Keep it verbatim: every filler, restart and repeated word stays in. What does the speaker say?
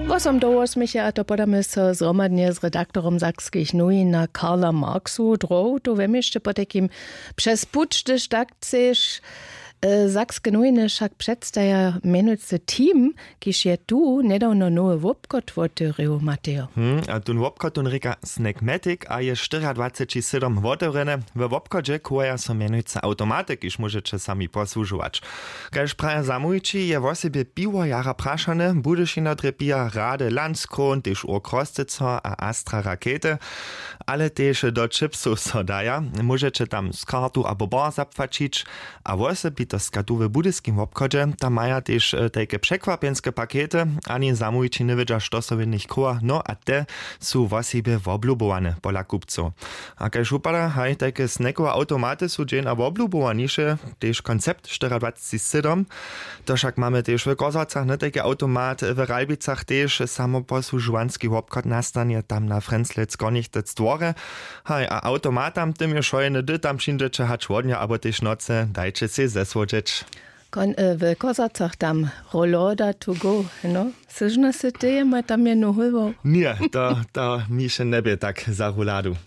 Wosom do wosmecha a to podamy so zhromadnje z redaktorom sakskich nowin na karla marksu drohu to wemješte potajkim přez puć hdyž tak chceš. Sakske nowiny wšak předstaja mjenujcy team, kiž je tu njedawno nowy wobchod wotewrěł matejo. Hm, a tón wobchod tón rěka snackmatic a je štyriadwaceći sydom wotewrjene. We wobchodźe kuwaja so mjenujcy automaty kiž móžeće sami posłužować. Kaž praja zamołwići je wosebje piwo jara prašane budyšina drje pija rady landskron tež ur krosceco a astra rakety. Ale tež do chipsow so daja, móžeće tam z kartu abo bar zapłaćić. A wosebitostka tu w budyskim wobchodźe tam maja tež tajke překwapjenske pakety. Ani zamołwići njewědźa što so w nich chowa no a te su wosebje woblubowane pola kupcow. A kaž wupada haj tajke snackowe automaty su dźeń a woblubowaniše. Tež koncept štyriadwaceći sydom. To wšak mamy tež w kozłacach na tajki automat w ralbicach tež samoposłužowanski wobchod nastanje tam na frenzlec kornichtec dworje. Haj a automatam tym je wšojene hdy tam přińdźeće hač wodnja abo tež nocy dajće sej zesłodźeć. W kozłacach tam roloda to go no syžno sy teje maj tam je nohulwał. Ně to to mi še njebě tak za roladu.